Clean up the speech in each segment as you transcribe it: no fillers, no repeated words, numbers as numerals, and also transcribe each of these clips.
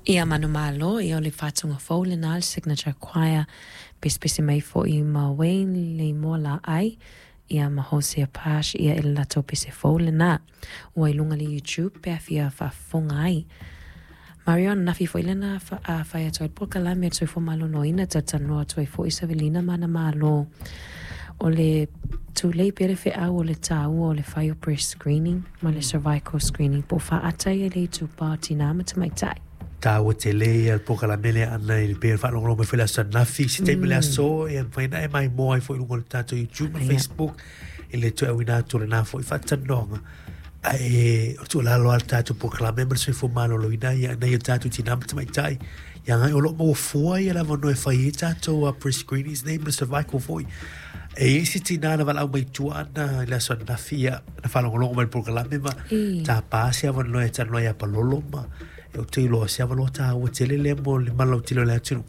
Ia manumalo, ia o le faatuga fou lena a le Signature Choir, pesepese mai foi ma Wayne Leimoa Laai, ia ma Hosea Pash, ia i le latou pese fou lena. Ua i luga i le YouTube pe a fia faafofoga ai. Marion, nafi foi lena a fai atu ai le polokalame a le Soifua Maloloina, talatalanoa atu ai foi Savelina ma ana malo. O le tulei pea le feau o le taua o le fai o breast screening ma le cervical screening po o faata ia le itupa o tinā ma tamaitai. Taua tele ia le polokalame lea ana i le pei ona faalogologo mai foi i le aso ananafi, se taimi o le aso e mafai ona e maimoa ai foi i luga o le tatou YouTube ma Facebook i le toe auina atu o lena foi faatalanoaga. Ae o le tuualalo lava le tatou polokalame ma le soifua maloloina ia nai o tatou tinā ma tamaitai ia agai o lo o maua fua ia le avanoa e fai ai tatou breast screenings nei ma le cervical foi. E i ai isi tinā na valaau mai tua ana i le aso ananafi ia na faalogologo mai i le polokalame ma tapa se avanoa e talanoa ia Palolo ma e ou te iloa se avanoa taua tele lea mo le malautele o le atunuu.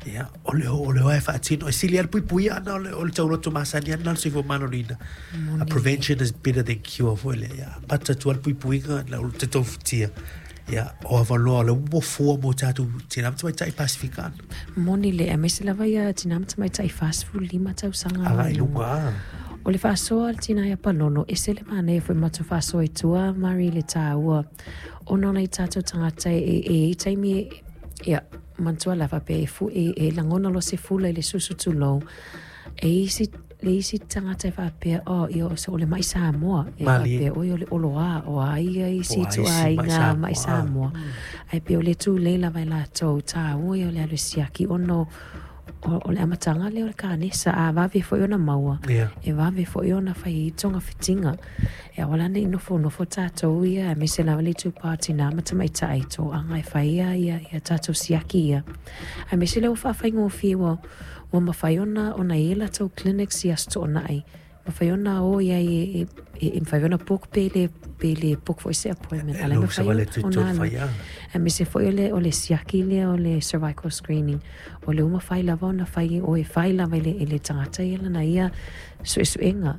Ia, o le o le oa e faatino, e sili lava le puipuia ana o le, o le tauloto masani ana o le soifua maloloina. A prevention is better than cure foi lea. Ia, amata atu lava le puipuiga na o te tofutia. Ia, o avanoa o le ua fua mo tatou tinā ma tamaitai Pasifika ana. Moni le, aemaise lava ia tinā ma tamaitai 45 tausaga. Agai i luga, a. O le faasoa a le tinā ia Palolo, ese le manaia foi matou faasoa i tua, Mari, i le taua. Ona o nai tatou tagata e, e i ai taimi e, ia, manatua la faapea e, fu, e, e lagona loa se fula i le susu tulou. E isi, le isi tagata e faapea, oh, ia, o, o le mai Samoa. E faapea, oi, o le oloā, o a ia isi ituaiga mai Samoa. Ae pei o le tulei lava e latou, taua ia o le alu e siaki ona o, o, o le amataga lea o le kanesa, a vave foi ona maua, e vave foi ona fai ai togafitiga. E aua la ne i nofonofo tatou ia, aemaise lava le itupa o tinā ma tamaitai i toaga e fai ia, ia, ia tatou siaki ia. Aemaise lea ua faafaigofie ua, ua mafai ona, ona i ai latou clinics i Aso Toonai, mafai ona o i ai e, e, e, e mafai ona book pe le, pe le book foi se appointment. A la e mafai ona, ona alu. Aemaise foi o le, o le siaki lea o le cervical screening, o lea ua mafai lava ona fai, o e fai lava i le, i le tagata ia lana ia suesuega.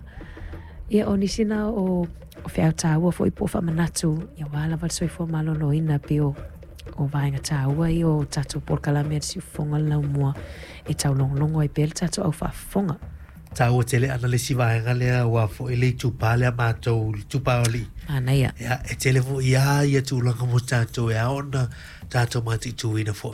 Ia, o nisi na o, o feau taua foi po o faamanatu, ia aua lava le soifua maloloina pei o, o vaega taua ia o tatou polokalame a le Siufofoga o le Laumua e taulogologo ai pea le tatou au faafofoga. Taua tele ana le isi vaega lea aua foi le itupa lea matou, le itupa o alii. Manaia. Ia, e tele foi lava ia tulaga mo tatou e ao ona tatou mataituina foi.